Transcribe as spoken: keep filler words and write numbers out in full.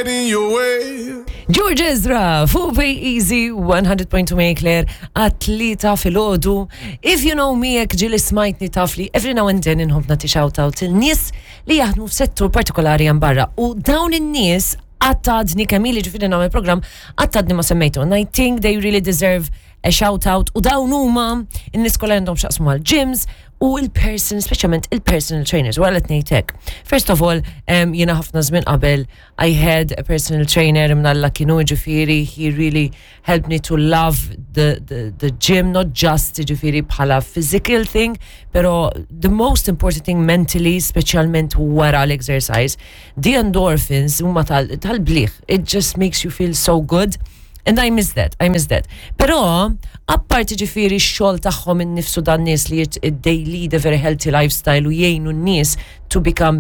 get in your way. George Ezra, fuq Easy one hundred point two Marie Claire, għat-tlieta filgħodu. If you know me, jekk ġieli smajtni, taf li every now and then inħobb nagħti shout out il-nies li jaħdmu f'settur partikolari hemm barra. U dawn in-nies għadni kemm ili, ġifieri, nagħmel program, għadni ma semmejtu. And I think they really deserve a shout out. U dawn huma in-nies kollha għandhom x'jaqsmu mal-gyms u il-person, speċjalment il-personal trainers. U għalet ngħidlek. First of all, um, jiena ħafna żmien qabel I had a personal trainer, mnalla kienu, ġifieri, he really helped me to love the, the, the gym, not just, ġifieri, bħala physical thing, pero the most important thing mentally, speċjalment wara l-exercise, the endorphins huma tal-bliħ. It just makes you feel so good. And I miss that, I miss that. Pero, apparti, ġifieri, x-xogħol tagħhom innifsu, dan nies li they lead a very healthy lifestyle u jgħinu n-nies to become